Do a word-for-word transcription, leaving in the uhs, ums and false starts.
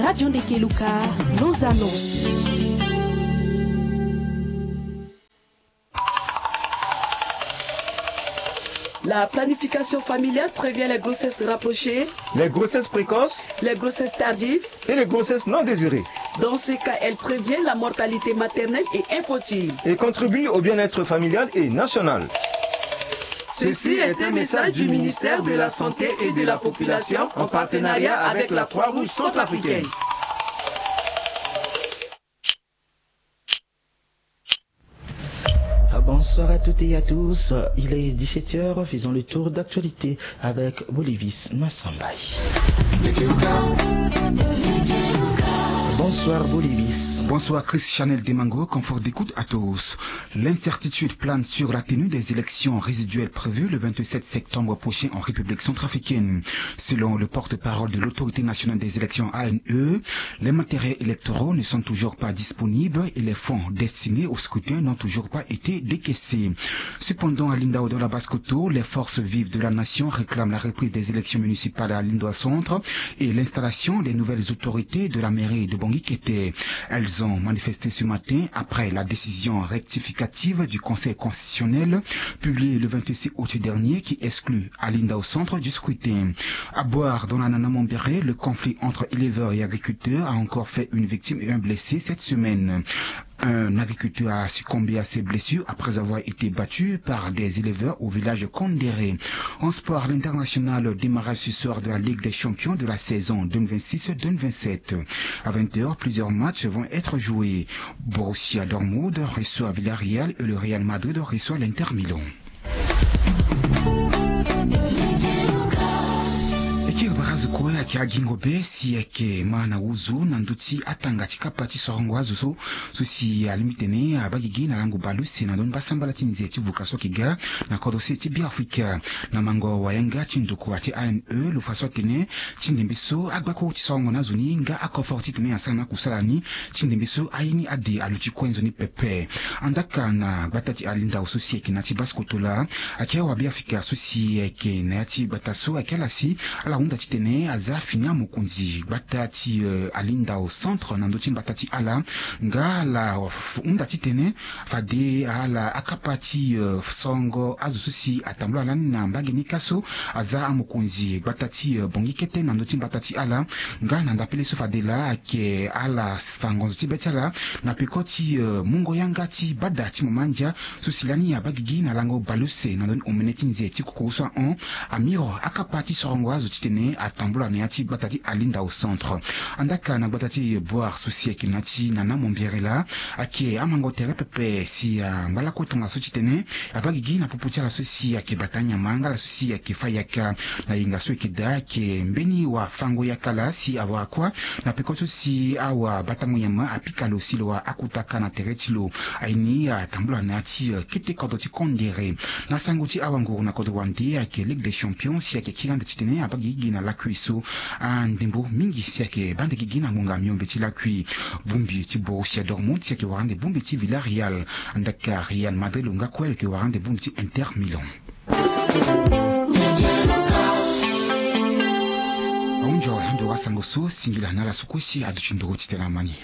Radio Ndekeluka, nos annonces. La planification familiale prévient les grossesses rapprochées, les grossesses précoces, les grossesses tardives et les grossesses non désirées. Dans ce cas, elle prévient la mortalité maternelle et infantile et contribue au bien-être familial et national. Ceci est un message du ministère de la Santé et de la Population en partenariat avec la Croix-Rouge centrafricaine. Bonsoir à toutes et à tous. Il est dix-sept heures. Faisons le tour d'actualité avec Bolivis Massambay. Bonsoir Bolivis. Bonsoir Chris Chanel Demango, confort d'écoute à tous. L'incertitude plane sur la tenue des élections résiduelles prévues le vingt-sept septembre prochain en République centrafricaine. Selon le porte-parole de l'Autorité nationale des élections, A N E, les matériels électoraux ne sont toujours pas disponibles et les fonds destinés au scrutin n'ont toujours pas été décaissés. Cependant, à Lindao, dans la Basse-Kotto, les forces vives de la nation réclament la reprise des élections municipales à Lindao Centre et l'installation des nouvelles autorités de la mairie de Bangui Kete. Elles ont manifesté ce matin après la décision rectificative du Conseil constitutionnel publiée le vingt-six août dernier qui exclut à Lindao Centre du scrutin. À Boar, dans la Nana Mambéré, le conflit entre éleveurs et agriculteurs a encore fait une victime et un blessé cette semaine. Un agriculteur a succombé à ses blessures après avoir été battu par des éleveurs au village Kondéré. En sport, l'international, démarrage ce soir de la Ligue des champions de la saison deux mille vingt-six deux mille vingt-sept. À vingt heures, plusieurs matchs vont être joués. Borussia Dortmund reçoit Villarreal et le Real Madrid reçoit l'Inter Milan. E kiri barazo kue ayeke agingo be si ayeke ma na wuzu na ndö ti atanga ti kapa ti sorongo azo so, so si alingbi tene abaa gigi na lango baleuse na ndö ni mbasambala ti nze ti vuka so ayeke ga na kodro se ti Beafrika. Na mango wayanga ti ndokua ti A N E, lo fa so atene ti ndembe so agbakuru ti sorongo na azo ni nga akofor titene asara na akusala ni, ti ndembe so aye ni ade aluti kue nzoni pepe. Andaka na gbata ti Alindao so si ayeke na ya ti Basse-Kotto laa, ayeke awabe Afrika so si ayeke na ya ti gbata so ayeke ala si ala hunda titene aza fini amokonzi gbata ti, eh, Alindao Centre na ndö ti mbata ti ala, nga ala hunda titene fade ala akapa ti, eh, sorongo azo so si atambula lani na mbage ni ka so aza amokonzi gbata ti, eh, Bangui Kete na ndö ti mbata ti ala, nga na ndapele so fade laa ayeke ala fa ngonzo ti be ti ala na peko ti, eh, mungo yanga ti bada ti mama ndia so si lani abaa gigi na lango baleuse na ndö ni omene ti nze ti kokoro so ahon, amiro akapa ti sorongo azo titene atambula na ya ti gbata ti Alindao Centre. Andaka na gbata ti Boar so si ayeke na ya ti Nana Mambéré laa, ayeke amango tere pepe si angba lakue tongaso titene abaa gigi na popo ti ala so si ayeke bata nyama nga ala so si ayeke fa yaka na yenga so ayeke daa, ayeke mbeni wafango yaka laa si awara kua na peko so si awabatango nyama apika lo si lo wara akutaka na tere ti lo. Aye ni atambula na ya ti, eh, kete kodro ti Kondéré. Na sango ti awanguru na kodro wande, ayeke Ligue des champions si ayeke kiri ande titene abaa gigi na lakui so andembo mingi si ayeke baa ande gigi na ngonga miombe ti lakui. Bongbi ti Borussia Dortmund si ayeke wara ande bongbi ti Villarreal. Andaka Real Madrid lo nga kue lo yeke wara ande bongbi ti Inter Milan. Ahunzi ando wasango so, singila na ala so kue si aduti nduru titene ama ni.